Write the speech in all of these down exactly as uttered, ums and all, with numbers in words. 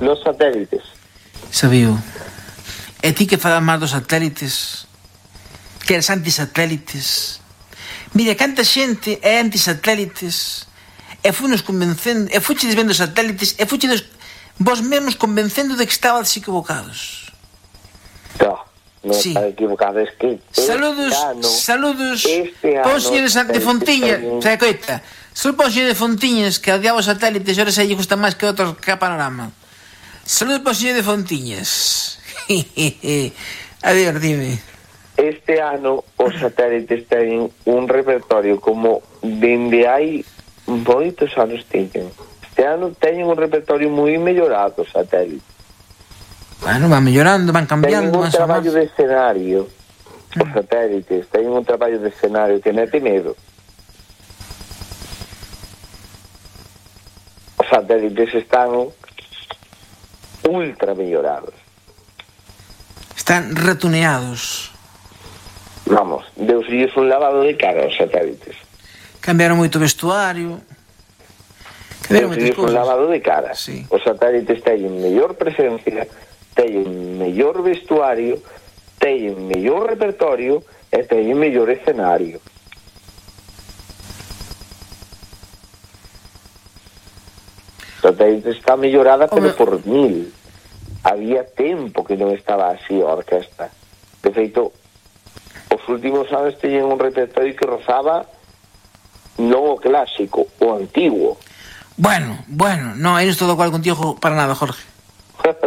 Los satélites. Sabío. E ti que falas máis dos satélites, que eres antisatélites. Mira, canta xente é antisatélites, e funos convencendo, e fuchedes vendo satélites, e fuchedes vos mesmos convencendo de que estabades equivocados. No, non Sí. está equivocado, es que... Saludos, este ano, saludos, este pon ano, señor de, de Fontiñas, este ano- sabe coita, solo pon señor de Fontiñas, que odiaba os satélites, e ahora se lle gusta máis que outros que a Panorama. Saludos pon señor de Fontiñas. Adiós, dime. Este ano os satélites teñen un repertorio como dende hai moitos anos teñen. Este ano teñen un repertorio moi mellorado os satélites. Bueno, van mellorando, van cambiando. Teñen un máis ou traballo máis. de escenario. Os satélites teñen un traballo de escenario que mete medo. Os satélites están ultra mellorados. Están retuneados. Vamos, deusille un lavado de cara aos satélites. Cambiaron moito o vestuario. Cambiaron moitas Deusille un cousas. lavado de cara. Sí. Os satélites teñen mellor presencia, teñen mellor vestuario, teñen mellor repertorio e teñen mellor escenario. O satélite está mellorada, pero Home. por mil. Había tempo que non estaba así a orquesta. De feito, os últimos anos teñen un repertorio que rozaba non o clásico, o antigo. Bueno, bueno, no, eres todo cual contigo para nada, Jorge.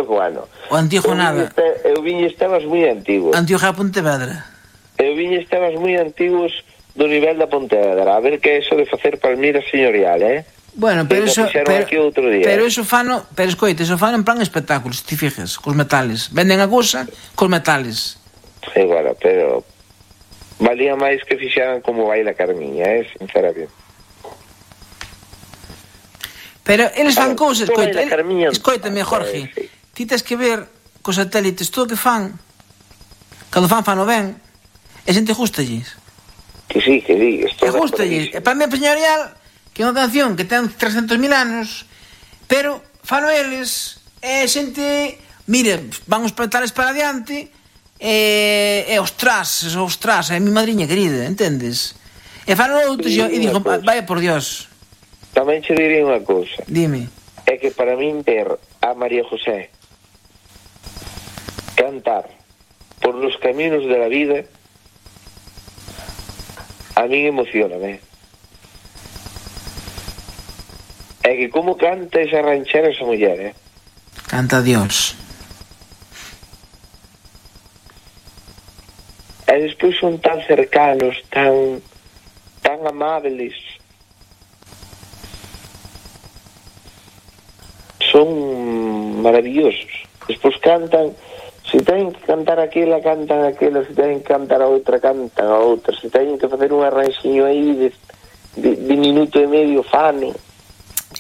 Bueno, O antigo eu nada. viñe este- eu viñe temas moi antigos. Antigo a Pontevedra. Eu viñe temas moi antigos do nivel da Pontevedra. A ver que é eso de facer palmira señorial, eh? Bueno, pero Que eso, lo fixeron pero, aquí outro día. pero eso fano, pero escoite, eso fano en plan espectáculo, se ti fijas, cos metales. Venden a cousa cos metales. Sí, bueno, pero valía máis que fixeran como baila Carmiña, eh? Sinceramente. Pero eles fan A ver, cousas, como escoita, baila Carmiña, el, escoitame, Jorge. sí. Ti tes que ver cos satélites todo o que fan. Cando fan fano ben, e xente gustalles. Que sí, que sí. E gustalles. E para mí señorial, que é unha canción que ten trescentos mil anos, pero fano eles, e xente, mire, van os petales para adiante, e, e ostras, ostras, é mi madriña querida, entendes? E fano outros, Sí, e, e digo, unha cousa. vaya por Dios, Tamén che diría unha cousa. dime. É que para min ver a María José cantar por los caminos de la vida a min emocioname. É que como canta esa ranchera esa muller, eh? Canta a Dios. E despois son tan cercanos, tan tan amables. Son maravillosos. Despois cantan, se teñen que cantar aquela, cantan aquela, se teñen que cantar a outra, cantan a outra, se teñen que facer un arranxiño aí de, de, de minuto e medio fano.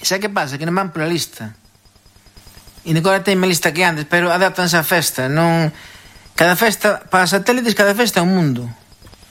Sabe que pasa? Que non van pola lista. E agora ten máis lista que antes, pero adaptanse á festa, non... Cada festa, para satélites, cada festa é un mundo.